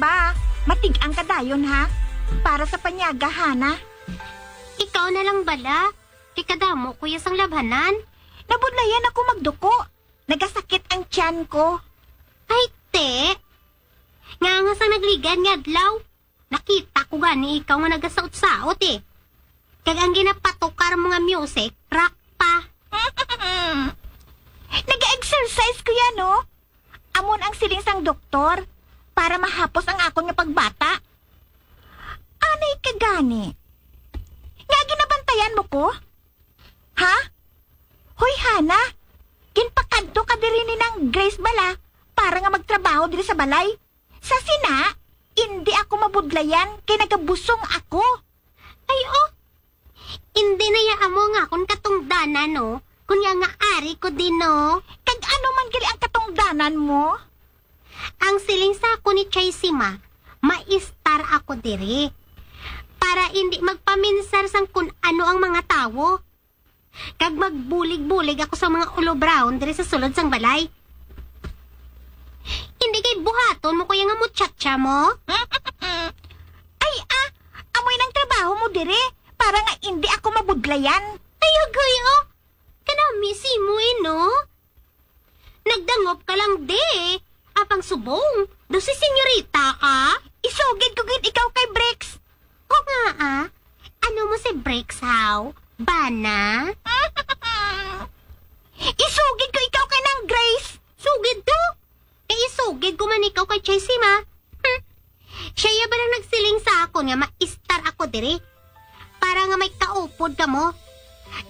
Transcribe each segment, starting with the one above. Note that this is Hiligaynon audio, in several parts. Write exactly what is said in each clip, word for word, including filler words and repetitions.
Ba, matig-ang ka dayon, ha? Para sa panyaga, Hana. Ikaw na lang bala. Kay kadamo ko ya sang labhanan. Nabudlayan ako magduko. Nagasakit ang tiyan ko. Ay, te. Nga nga sang nagligad nga adlaw, nakita ko gani ikaw nga nagasaot-saot, eh. Kag ang ginapatukar mo nga music, rock pa. Nag-exercise ko yan, no? Amon ang siling sang doktor para mahapos ang akon nga pagbata. Anay ka gani. Nga ginabantayan mo ko? Ha? Hoy, Hana, ginpakadto ka diri ni Nang Grace bala para nga magtrabaho diri sa balay. Sa sina, indi ako mabudlayan kay nagabusong ako. Ay, oh. Indi na ya amo nga akon katungdanan, no? Kunya nga ari ko din, no? Kag ano man gali ang katungdanan mo? Ang siling sa ako ni Chaisima, maistar ako diri. Para indi magpaminsar sang kun ano ang mga tawo. Kag magbulig-bulig ako sa mga ulobraon diri sa sulod sang balay. Hindi kay buhaton mo ko ya nga muchacha mo? Ay, ah, amoy nang trabaho mo diri para nga indi ako mabudlayan. Ay, agoy, oh. Kanami si mo, eh, no? Nagdangop ka lang, de. Apang subong, daw si senyorita ka? Isugid ko gid ikaw kay Bricks. O nga, ah. Ano mo si Bricks, haw? Bana? Isugid ko ikaw kay Nang Grace. Sugid to? Kay isugid ko man ikaw kay Chesima. Hmm. Siya ya ba lang nagsiling sa akon nga maistar ako diri? Para nga may kaupod kamo.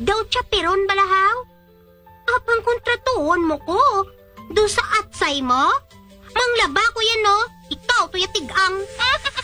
Daw chaperon bala, haw? Apang kontratuhon mo ko. Do sa atsay mo? Manglaba ko yan, no? Ikaw to ya tig-ang.